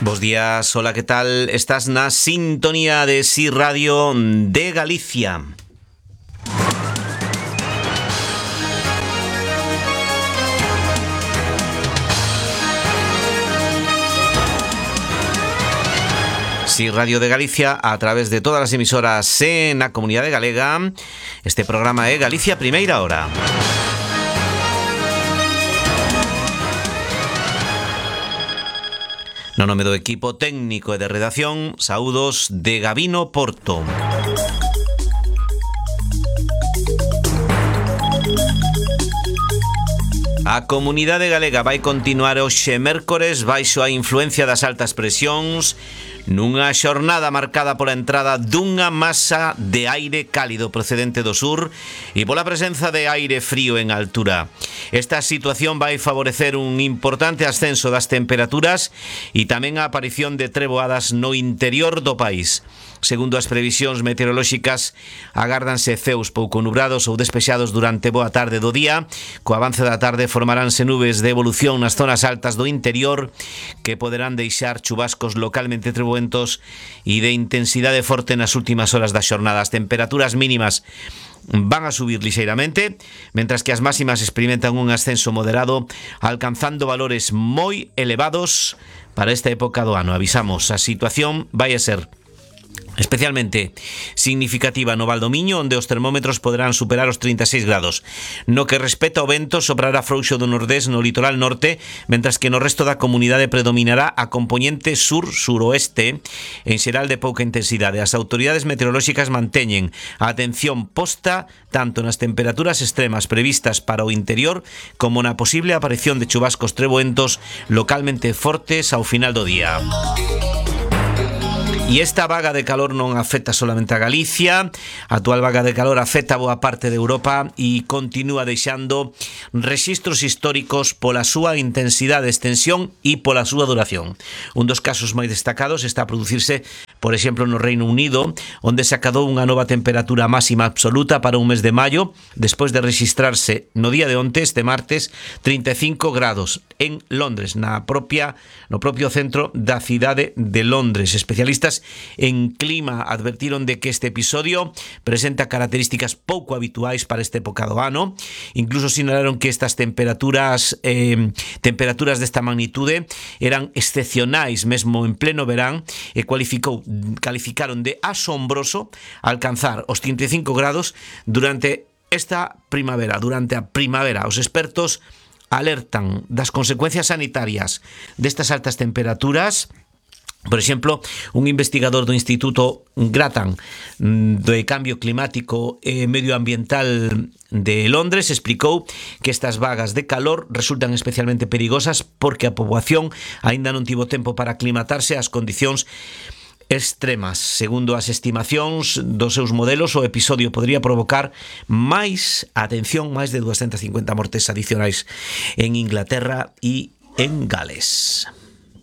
Bos días, hola, ¿qué tal? Estás na sintonía de Si Radio de Galicia. Si Radio de Galicia a través de todas as emisoras en a Comunidade Galega. Este programa é Galicia Primeira Hora. No nome do equipo técnico e de redacción, saúdos de Gabino Porto. A Comunidade Galega vai continuar hoxe mércores baixo a influencia das altas presións nunha xornada marcada pola entrada dunha masa de aire cálido procedente do sur e pola presenza de aire frío en altura. Esta situación vai favorecer un importante ascenso das temperaturas e tamén a aparición de treboadas no interior do país. Segundo as previsións meteorolóxicas, agárdanse ceos pouco nubrados ou despexados durante boa tarde do día. Co avance da tarde formaránse nubes de evolución nas zonas altas do interior que poderán deixar chubascos localmente trebuentos e de intensidade forte nas últimas horas da xornada. As temperaturas mínimas van a subir lixeiramente, mentras que as máximas experimentan un ascenso moderado, alcanzando valores moi elevados para esta época do ano. Avisamos, a situación vai a ser especialmente significativa no Valdomiño, onde os termómetros poderán superar os 36 grados. No que respecta ao vento, soprará frouxo do nordés no litoral norte, mentras que no resto da comunidade predominará a compoñente sur-suroeste, en xeral de pouca intensidade. As autoridades meteorolóxicas manteñen a atención posta tanto nas temperaturas extremas previstas para o interior como na posible aparición de chubascos treboentos localmente fortes ao final do día. E esta vaga de calor non afecta solamente a Galicia. A actual vaga de calor afecta a boa parte de Europa e continúa deixando rexistros históricos pola súa intensidade, extensión e pola súa duración. Un dos casos máis destacados está a producirse, por exemplo, no Reino Unido, onde se acadou unha nova temperatura máxima absoluta para un mes de maio, despois de registrarse no día de onte, este martes, 35 grados en Londres, no propio centro da cidade de Londres. Especialistas en clima advertiron de que este episodio presenta características pouco habituais para esta época do ano. Incluso sinalaron que estas temperaturas desta magnitude eran excepcionais mesmo en pleno verán e calificaron de asombroso alcanzar os 35 grados durante esta primavera, durante a primavera. Os expertos alertan das consecuencias sanitarias destas altas temperaturas. Por exemplo, un investigador do Instituto Grattan de Cambio Climático e Medioambiental de Londres explicou que estas vagas de calor resultan especialmente perigosas porque a poboación aínda non tivo tempo para aclimatarse ás condicións extremas. Segundo as estimacións dos seus modelos, o episodio podría provocar máis de 250 mortes adicionais en Inglaterra e en Gales.